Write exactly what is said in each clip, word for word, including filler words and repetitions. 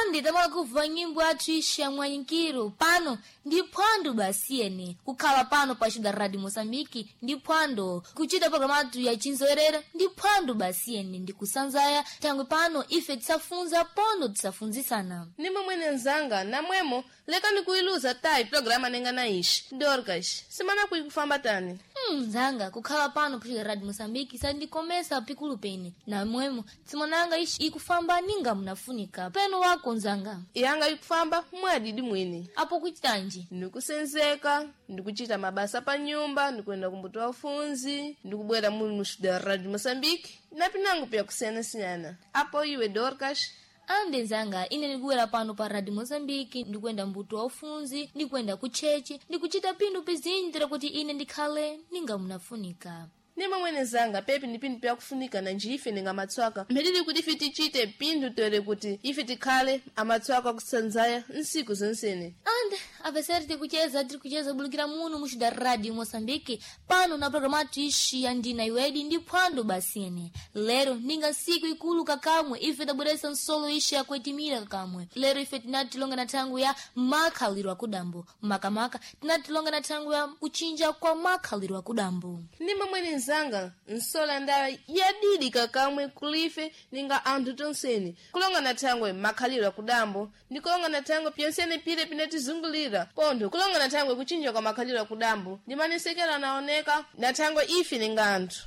Andi tamala kubva nyimbo yathu ixi ya mwanyinkiro pano ndi phwando basiyene kukhala pano pa Xuda Radio Moçambique ndi phwando kuchita programa athu ya chinzoerera ndi phwando basiyene ndi kusanzaya thangwi pano ife tisafunza pono tisafunzisana. Nimwe mwene nzanga namwemo lekani kuiluza tayi programa nenga na ixi Dorcas simana kuikufamba tani. Hmm, nzanga kukhala pano pa Xuda Radio Moçambique sandikomesa pikulu pene namwemo tsimonanga ixi ikufamba ninga munafunika peno wako nzanga. Yanga ikufamba mwadidi mwene. Apo kuchitanji? Ndikusenzeka, ndikuchita mabasa pa nyumba, ndikuenda kumbuto wafunzi, ndikubwera muli mu Xuda Radio Moçambique na pinango pya kusiyana-siyana. Apo iwe Dorcas? Ande nzanga ine ndikuwera pano pa Radio Moçambique ndikuenda mbuto wa ufunzi ndikuenda kuchechi ndikuchita pinthu pizinji kuti ine ndikhale ninga munafunika. Nimwe mwene zanga pepi ndi pinthu pyakufunika na njife ninga matswaka mphitili kuti ife tichite pinthu tere kuti ife tikhale amatswaka kusanzaya nsiku zonsene. Ande apeseri tikucheza tiri kucheza bulukira muno mu Xuda Radio Moçambique pano na programa athu ixi ya ndina iwedi ndi phwando basiyene. Lero ninga nsiku ikulu kakamwe ife tabweresa nsolo ixi yakuetimira kakamwe. Lero ife tinatilonga na thangu ya makhaliro akudambo makamaka tinatilonga na thangu ya kuchinja kwa makhaliro akudambo. Nimwe mwene nzanga nsola ndawa yadidi kakamwe kulife ninga anthu tonsene kulonga na thangwe makhaliro akudambo ndi kulonga na thangwe pyonsene pile pinatizungulira pontho kulonga na thangwe kuchinja kwa makhaliro akudambo ndi manesekero anaoneka na thangwe ife ninga anthu.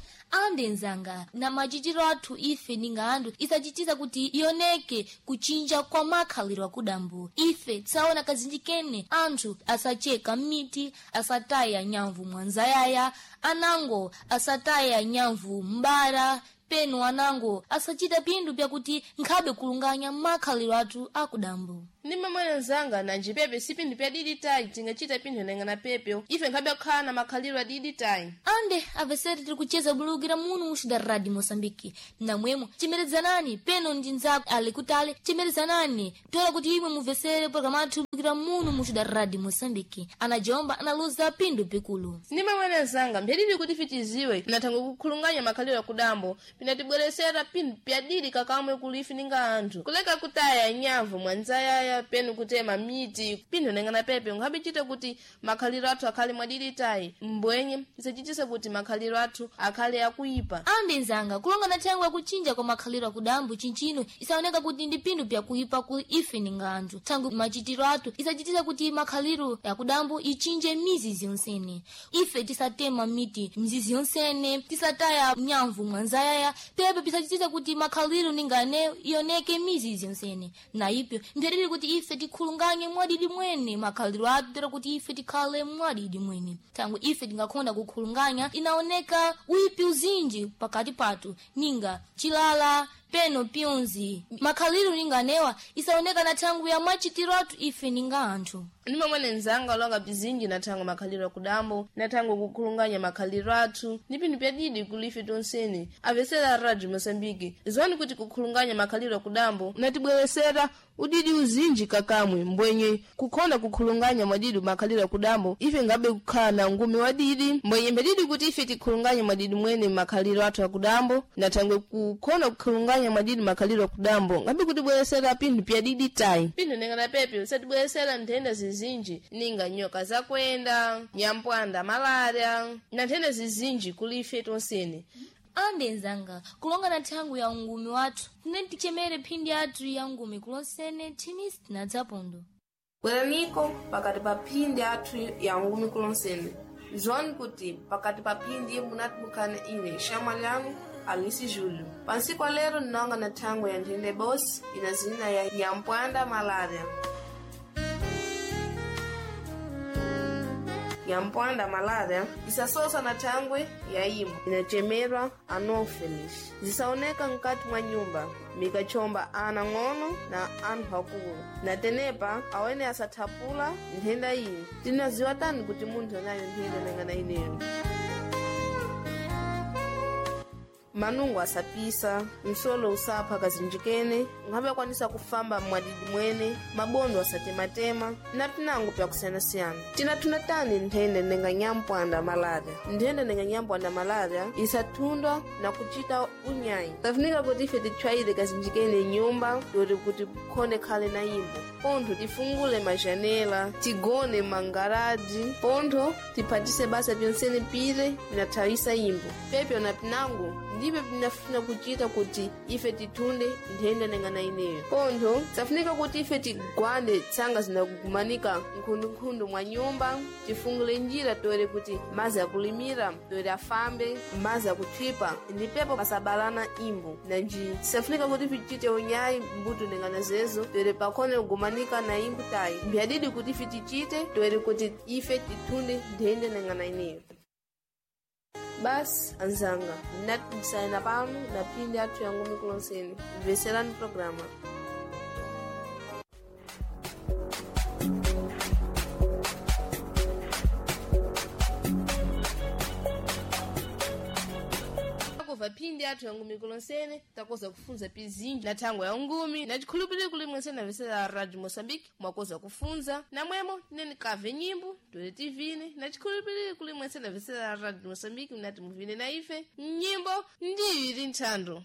Ande nzanga na machitiro athu ife ninga anthu isachitisa kuti ioneke kuchinja kwa makhaliro akudambo. Ife tsaona kazinji kene anthu asacheka miti asataya nyamvu mwanzayaya anango asataya nyamvu mbara penu anango asachita pinthu pyakuti nkhabe kulunganya makhaliro athu akudambo. Nimwe mwene nzanga nanji pepe si pinthu pyadidi tayi tingachita pinthu nenga na pepe ife nkhabe kukhala na makhaliro adidi tayi. Ande apeseri tiri kucheza bulukira muno mu Xuda Radio Moçambique namwemo chemerezanani peno ndi nzako ali kutali chemerezanani tola kuti imwe muvesere programa athu bulukira muno mu Xuda Radio Moçambique. Anajomba analuza pinthu pikulu. Nimwe mwene nzanga mphitili kuti ife tiziwe nathangwe kukhulunganya makhaliro akudambo pinatibweresera pinthu pyadidi kakamwe kulife ninga anthu kuleka kutaya nyamvu mwanzayaya penu kutema miti pinthu nenga na pepe nkhabe kuti makhaliro athu akhale mwadidi tayi mbwenye isachitise kuti makhaliro athu akhale akuipa. Ande nzanga kulonga na thangwe yakuchinja kwa makhaliro akudambo chinchino isaoneka kuti ndi pinthu pyakuipa ku ife ninga anthu thangwe machitiro athu isachitisa kuti makhaliro yakudambo ichinje mizizi yonsene. Ife tisatema miti mizizi yonsene tisataya nyamvu mwanzayaya pepe pisachitisa kuti makhaliro ningane ioneke mizizi yonsene na ipyo mphiriri kuti ife tikhulunganye mwadidi mwene makhaliro athu tera kuti ife tikhale mwadidi mwene thangwe ife tingakhonda kukhulunganya inaoneka uipi uzinji pakati pathu ninga chilala peno pyonzi makhaliro ninganewa isaoneka na thangwi ya machitiro athu ife ninga anthu. Nimwe mwene nzanga olonga bzinji na thangwe makhaliro akudambo na thangwe kukhulunganya makhaliro athu ndi pinthu pyadidi kulife tonsene apesera Radio Moçambique ziwani kuti kukhulunganya makhaliro akudambo natibweresera udidi uzinji kakamwe mbwenye kukhonda kukhulunganya mwadidi makhaliro akudambo ife ngabe kukhala na ngumi wadidi mbwenye mphitidi kuti ife tikhulunganye mwadidi mwene makhaliro athu akudambo na thangwe kukhonda kukhulunganya mwadidi makhaliro akudambo ngabe kutibweresera pinthu pyadidi tayi pinthu nenga na pepe usatibweresera nthenda zizinji ninga nyoka zakwenda nyampwanda malaria na nthenda zizinji kulife tonsene. Ande nzanga kulonga na thangwi ya ungumi wathu tine tichemere phindi athu ya ngumi kulonsene thimisi tinadzapondo. Bweraniko pakati pa phindi athu ya ngumi kulonsene zwani kuti pakati pa phindi munatibukana ine shamwa lyanu Alice Júlio. Pansiku lero ninonga na thangwi ya nthenda bosi ina zina ya nyampwanda malaria. Nyampwanda malaria isasosa na thangwe ya imo inachemerwa anopheles zisaoneka mkati mwa nyumba mikachomba ana ng'ono na anthu akulu na tenepa awene asathapula nthenda iyi. Tinaziwa tani kuti munthu anayo nthenda nangana ineyo. Manungo asapisa, msolo usapha kazinjikene, nkhabe akwanisa kufamba mwadidi mwene, mabondo asatematema, na pinango pyakusiyanasiyana. Tinathuna tani nthenda nenga nyampwanda malaria. Nthenda nenga nyampwanda malaria isathundwa na kuchita unyayi. Tafunika kuti ife titchwayire kazinjikene nyumba yoti kuti khone khale na imbo. Pontho tifungule majanela, tigone mangaraji, pontho tiphatise basa pyonsene pire pinathawisa imbo. Pepyo na pinango ndipyo pinafuna kuchita kuti ife tithunde nthenda nengana ineyo. Pontho safunika kuti ife tigwande tsanga zinakugumanika nkhundunkhundu mwa nyumba, tifungule njira toere kuti mazi akulimira toere afambe, mazi akuthipa ndipepo pasabalana imbo. Nanji safunika kuti tichite unyayi mbuto nengana zezo toere pakhone kugumanika na imbo tayi. Mbyadidi kuti ife tichite toere kuti ife tithunde nthenda nengana ineyo. Basi anzanga ndinatisaina pano na phindi athu yangumi kulonseni mveserani programa. Takobva phindi athu yangumi kulonsene takoza kufunza pizinji na thangwe ya ungumi na chikhulupiriro kuli mwensene amvesera Radio Moçambique mwakoza kufunza namwemo tineni kave nyimbo tole tivine na chikhulupiriro kuli mwensene amvesera Radio Moçambique mnati muvine na ife nyimbo ndiyo ili nthando.